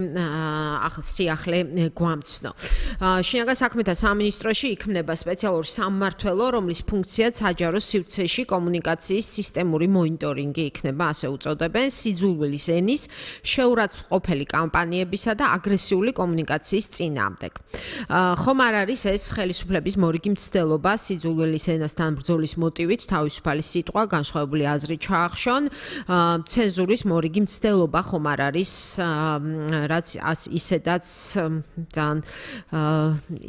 სიახლე გვამცნო. შინაგან საქმეთა სამინისტროში იქმნება სპეციალური სამმართველო, რომლის ფუნქციაც საჯარო სივრცეში კომუნიკაციის სისტემური მონიტორინგი იქნება, ასე უწოდებენ, სიძულვილის ენის, შეურაცხყოფელი კამპანიებისა და აგრესიული კომუნიკაციის წინააღმდეგ. ხომ არ არის ეს ხელისუფლების მორიგი მცდელობა სიძულვილის ენასთან ბრძოლის მოტივით თავისუფალი სიტყვა, განსხვავებული აზრი ჩაახშონ, ცენზურის მორიგი მცდელობა ხომ არ არის რაც ისედაც ძალიან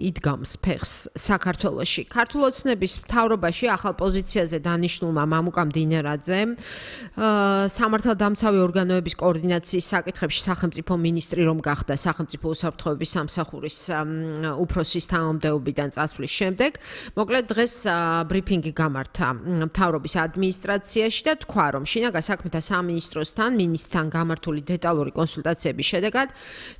იდგამს ფეხს საქართველოში. ქართულ ოცნების მთავრობაში ახალ პოზიციაზე დანიშნულმა მამუკა მდინარაძემ სამართალდამცავი ორგანოების კოორდინაციის საკითხებში სახელმწიფო მინისტრი რომ გახდა სახელმწიფო უსაფრთხოების სამსახურის უფროსის თანამდებობიდან წასვლის შემდეგ, მოკლედ დღეს ბრიფინგი გამართა მთავრობის ადმინისტრაციაში და თქვა, რომ შინაგან საქმეთა სამინისტროსთან მინისტრთან გამართული დეტალური კონსულტაციების შედეგად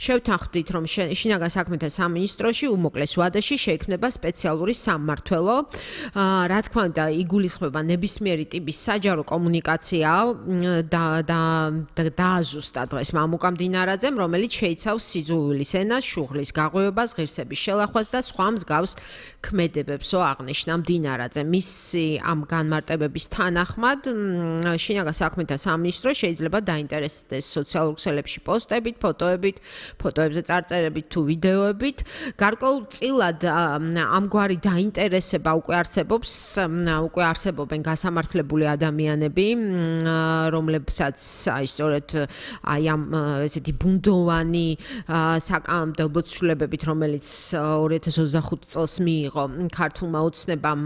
შევთანხმდით, რომ შინაგან საქმეთა სამინისტროში უმოკლეს ვადაში შეიქმნება სპეციალური სამმართველო. რა თქმა უნდა, იგულისხმება ნებისმიერი ტიპის საჯარო კომუნიკაცია დააზუსტა დღეს მამუკა მდინარაძემ, რომელიც შეიცავს სიძულვილის ენას, შუღლის გაღვივებას, ღირსების შელახვას და სხვა მსგავს ქმედებებსო აღნიშნა მდინარაძემ. მისი ამ განმარტებების თანახმად შინაგან საქმეთა სამინისტრო შეიძლება დაინტერესდეს სოციალურ ქსელებში პოსტებით, ფოტოებზე წარწერებით თუ ვიდეოებით. გარკვეულწილად ამგვარი დაინტერესება უკვე არსებობენ გასამართლებული ადამიანები, რომლებსაც სწორედ ამ ესეთი ბუნდოვანი საკანონმდებლო ცვლილებებით, რომელიც 2025 წელს მიიღო ქართულმა ოცნებამ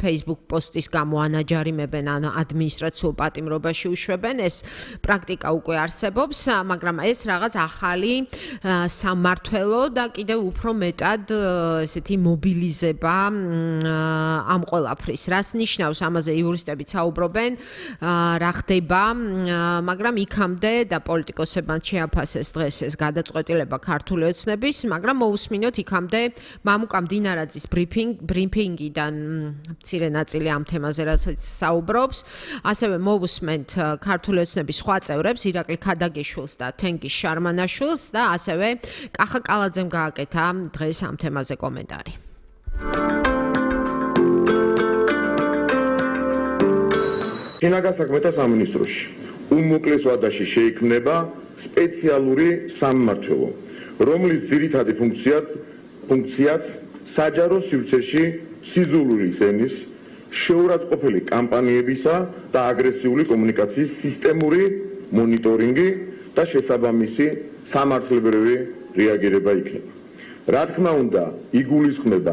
Facebook პოსტის გამო ანაჯარიმებენ ან ადმინისტრაციულ პატიმრობაში უშვებენ, ეს პრაქტიკა უკვე არსებობს, მაგრამ ეს რაღაც ახალი სამმართველო და კიდევ უფრო მეტად ესეთი მობილიზება ამ ყველაფრის. რას ნიშნავს, ამაზე იურისტები საუბრობენ, რა ხდება, მაგრამ იქამდე და პოლიტიკოსებმა შეაფასეს დღეს ეს გადაწყვეტილება ქართული ოცნების, მაგრამ მოусმინოთ იქამდე მამუკა მდინარაძის ბრიფინგიდან მცირე ნაწილი ამ თემაზე რასაც საუბრობს, ასევე მოусმენთ ქართული ოცნების სხვა წევრებს, ირაკლი ქადაგიშვილს და თენგიზ შარმანაშვილს და ასევე კახა კალაძემ გააკეთა დღეს ამ თემაზე კომენტარი. შინაგან საქმეთა სამინისტროში უმოკლეს ვადაში შეიქმნება სპეციალური სამმართველო, რომლის ძირითადი ფუნქციაც საჯარო სივრცეში სიძულვილის ენის, შეურაცხყოფელი კამპანიებისა და აგრესიული კომუნიკაციის სისტემური მონიტორინგი და შესაბამისი სამართლებრივი რეაგირება იქნება. რა თქმა უნდა, იგულისხმება